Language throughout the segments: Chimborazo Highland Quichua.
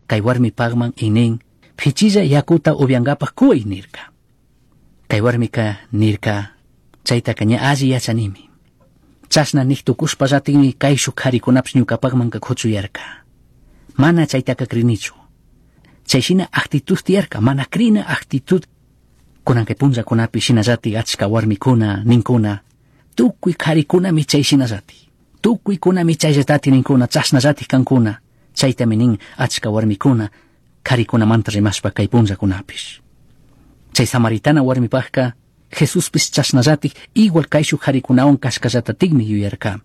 Kay warmipajman y nin, pichilla yakuta upyangapaj kuy nirka. Kay warmika nirka, chaytaka ña alli yachanimi. Chashna nik tukushpallatikmi kayshuk karikunapish ñukapajmanka kuchuyarka. Mana chaytaka crinichu. Chay shina actitud tiyarka, mana crina actitud. Kunan kay punllakunapi shinallatik achka warmikuna ninkuna, tukuy karikunami chay shinallatik. Tukuykunami chayllatatik ninkuna, chashnallatik kankuna. Chaytami nin achka warmikuna karikunamanta rimashpa kay punllakunapish. Chay samaritana warmipajka Jesuspish chashnallatik igual kayshuk karikunawan kashkallatatikmi yuyarka.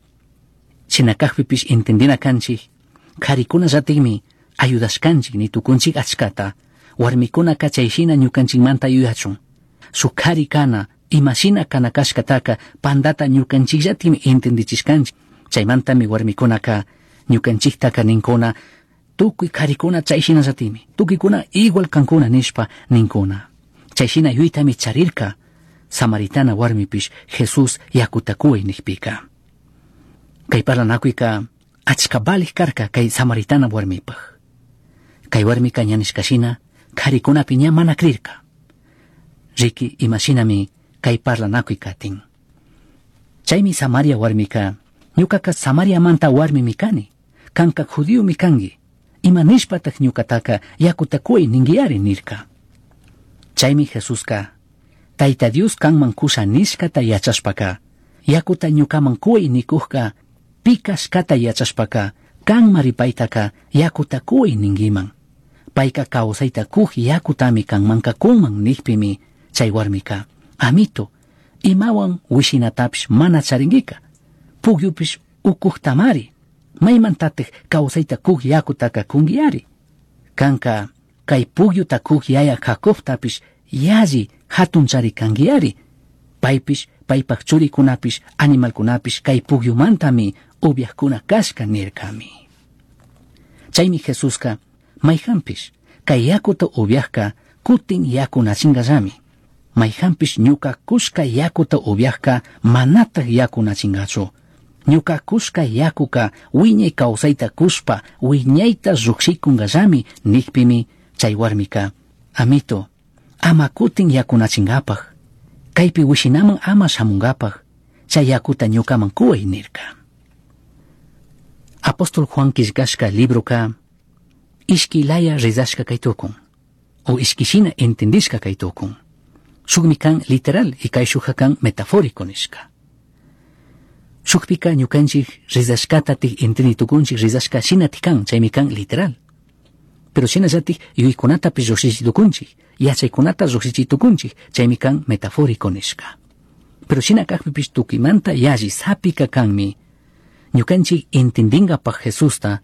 Shina kajpipish entendina kanchik, karikunallatikmi ayudashkanchik ni tukunchik achkata, warmikunaka chay shina ñukanchikmanta yuyachun. Shuk kari kana, imashina kana kashkataka pandata ñukanchikllatikmi entendichishkanchik. Chaymantami warmikunaka ñukanchiktaka ninkuna, tukuy karikuna chay shinallatikmi, tukuykuna igual kankuna nishpa ninkuna. Chay shina yuytami charirka, Samaritana warmipish Jesús yakuta kuy nikpika. Kay parlanakuyka achka valij karka kay Samaritana warmipaj. Kay warmika ña nishka shina karikunapi ña mana crirka. Riki imashinami kay parlanakuy katin. Chaymi Samaria warmika, ñukaka Samariamanta warmimi kani, kanka judíomi kanki, ima nishpatak ñukataka yakuta kuy ninguiari nirka. Chaymi Jesuska, Tayta Dios kanman kusha nishkata yachashpaka, yakuta ñukaman kuy nikujka, pi kashkata yachashpaka, kanmari paytaka yakuta kuy ninguiman. Payka kawsayta kuj yakutami kanmanka kunman nikpimi chay warmika, amito, imawan wishinatapish mana charinguika, pugyupish ukujtamari, maymantatik kawsayta kuj yakutaka kunguiari. Kanka kay pugyuta kuj yaya Jacobtapish yalli hatunchari kanguiari. Paypish, paypak churikunapish, animalkunapish kay pugyumantami upyajkuna kashka nirkami. Chaymi Jesuska mayjanpish kay yakuta upyajka kutin yakunachingallami. Mayjanpish ñuka kushka yakuta upyajka manataj yakunachingachu. Ñuka kushka yakuka wiñay kawsayta kushpa wiñayta llujshikungallami nikpimi chay warmika, amito, ama kutin yakunachingapaj, kaypi wishinaman ama shamunkapaj, chay yakuta ñukaman kuway nirka. Apóstol Juan killkashka libroka ishki laya rezashka kay tukun, o ishkishina entendishka kay tukun. Shukmi kan literal y kayshukka kan metafórico nishka. Shukpika ñukanchik rezashkatatik entendi tukunchik rezashka shinatik kan, chaymi kan literal. Pero shinallatik yuyaykunatapish llujshichi tukunchik, yachaykunata llujshichi tukunchik, chaymi kan metafórico nishka. Pero shina kajpipish tukuymanta yalli sapika kanmi, ñukanchik entendingapaj Jesusta,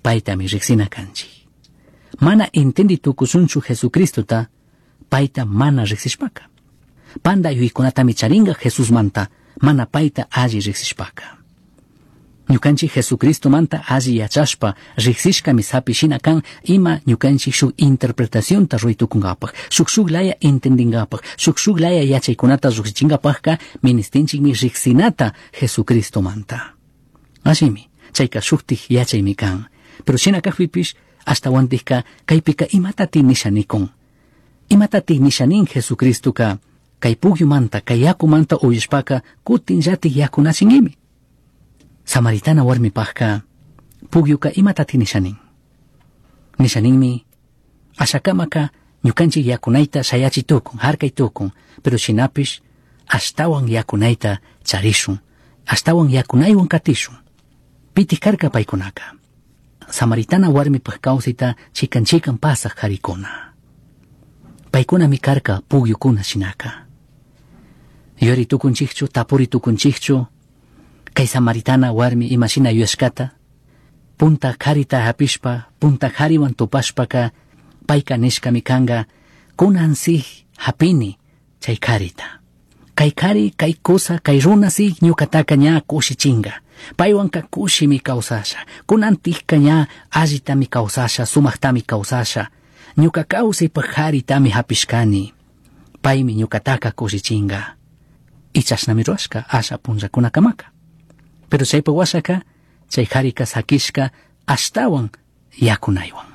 paytami riksina kanchik. Mana entendi tukushunchu Jesucristota, payta mana riksishpaka. Panda yuyaykunatami charinga Jesusmanta, mana payta alli riksishpaka. Ñukanchik Jesucristomanta alli yachashpa riksishkami sapi shina kan ima ñukanchik shuk interpretacionta ruray tukunkapaj, shuk shuk laya entendingapaj, shuk shuk laya yachaykunata llujshichinkapajka ministinchikmi riksinata Jesucristomanta. Ashimi, chayka shuktik yachaymi kan. Pero shina kajpipish ashtawantikka kaypika imatati nisha nikun. Imatati nisha nin Jesucristoka kay pugyumanta, kay yakumanta uyashpaka kutinllatik yakunachinguimi. Samaritana warmipajka pugyuka imatati nisha nin. Nisha ninmi ashakamaka ñukanchik yakunayta shayachi tukun, harkay tukun, pero shinapish ashtawan yakunayta charishun, ashtawan yakunaywan katishun. Pitik karka paykunaka. Samaritana warmipaj kawsayta chikan chikan pasaj karikuna. Paykunami karka pugyukuna shinaka. Yuyari tukunchikchu, tapuri tukunchikchu, kay samaritana warmi imashina yuyashkata, punta karita hapishpa, punta kariwan tupashpaka, payka nishkami kanga, kunan si hapini chay karita. Kay kari, kay kusa, kay runa si ñukataka ña kushichinga. Paywanka kushimi kawsasha. Kunantikka ña allitami kawsasha, sumaktami kawsasha. Ñuka kawsaypaj karitami hapishkani. Paymi ñukataka kushichinga. Y chashnami rurashka asha punllakunakamaka. Pero chaypa washaka, chay karika sakishka ashtawan yakunaywan.